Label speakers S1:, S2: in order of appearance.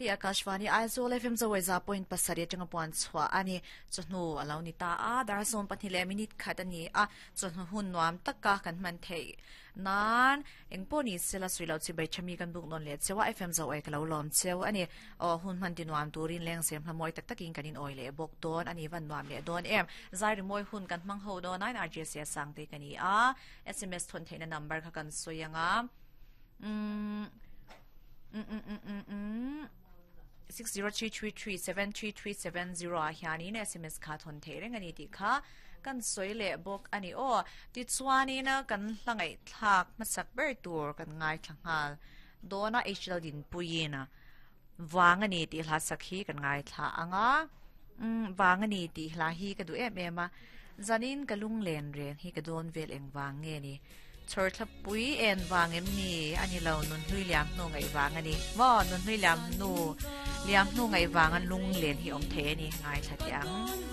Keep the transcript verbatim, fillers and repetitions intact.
S1: Hi Akashvani Aizawl F M zawai za point pasarih atanga puan chhuah a ni. Chawhnu a lo ni ta a, dar sawm pahnih leh minute khat a ni a, chawhnu hun nuam taka kan hman theih nan engpawh ni sela sui lo chi bai thami kan buk nawn leh cheu a, F M zawai ka lo lawm cheu a ni. Aw hun hman ti nuam turin leng sem hla mawi tak takin kan in awi leh bawk dawn a ni, van nuam leh dawn em. Zai rimawi hun kan hmang ho dawn a, R J C sang te ka ni a, S M S thawn theihna number kha kan sawi anga. Mm mm mm mm mm six zero three three three seven three three seven zero a hianin S M S kha thon thei reng ani ti kha kan soi le bawk ani aw. Ti chuanin kan hlangai thlak hmasak ber tur kan ngai thlangal dona H L din puina wang ani ti hla sakhi kan ngai thla anga. Um wang ani ti hla hi ka du em em a, zanin ka lung len reng hi ka don vel eng wang nge ni chor thla pui en wang em ni ani lo nun hlui liam nu ngai wang ani mo nun hlui liam nu liam nu ngai wang an lung len hi om the ani ngai thla tiang.